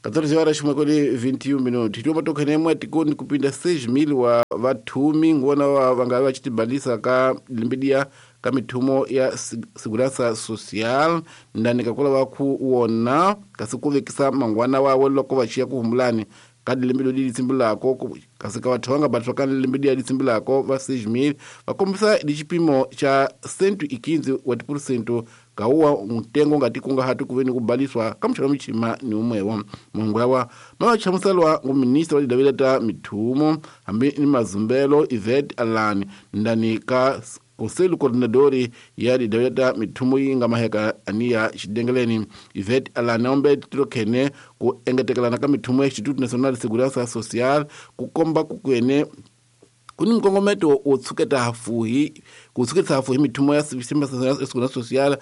14 horas ximwekweni 21 minuti tioma tokhenemwe tikoni kupinda 6.000 wa vathumi ngona wa vanga va xitibalisa ka limbidia ka mithumo ya segurança social ndani kakula va ku wona kasi ku vekisa mangwana wawe loko va xiya ku humulani ka lembe leri tsimbilako kasi ka vathu va nga batwa ka lembe leri tsimbilako va 6.000 va kombisa ni xipimo xa 115 wa tiphurusento kawuwa ntengo ngati kungahati kuve ni kubaliswa ka muxaka michima ni umwewo mahungu lawa ma va chamuselwa ngu minista wa tidavela ta mithumo hambi ni mazumbelo Yvette Alan ndani ka Conselho Coordenador ya tidavela ta mithumo yi nga maheka aniya xidengeleni Yvette Alan ombe tilokhene ku engetekelana ka mithumo ya Instituto Nacional de Segurança Social ku komba ku kwene ku ni nkongometo wo tshuketa hafuhi ku tshuketisa hafuhi mithumo ya sistema ya segurança social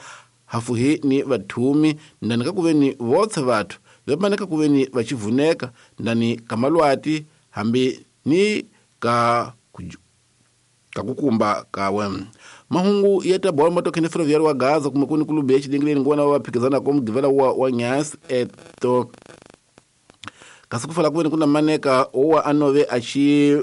hafuhi ni vathumi ndani ka kuveni votse vathu vemaneka kuveni vachivuneka ndani ka malwati hambi ni ka kakukumba kawe mahungu ya ta bolo matokhene ferroviário wa Gaza kuma kuni kulubu ya xidengeleni ngona wa phikizana ko mugivela wa nyasi eto kasi ku fala kuveni kuna maneka owa anove achi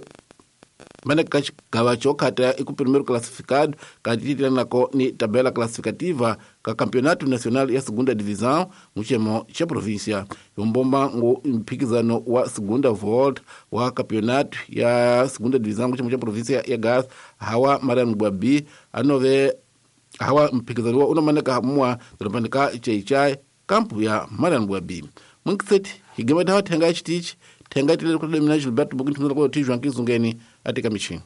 maneka xigava xo khata i ku primeiro classificado katitilanako ni tabela classificativa ka campeonato nacional ya segunda divisão muxemo xa província yombomba ngu mphikizano wa segunda volta wa campeonato ya segunda divisão muxemo xa província ya Gaza hawa Mariano Gwabi anove hawa mphikizano wa unomaneka mwa dorobanika cheichai kampu ya Mariano Gwabi munkiseti higema tawa thenga xitichi thenga tilele ku mina Gilberto Bukinthunela ko tijwa nkizungeni atika michini.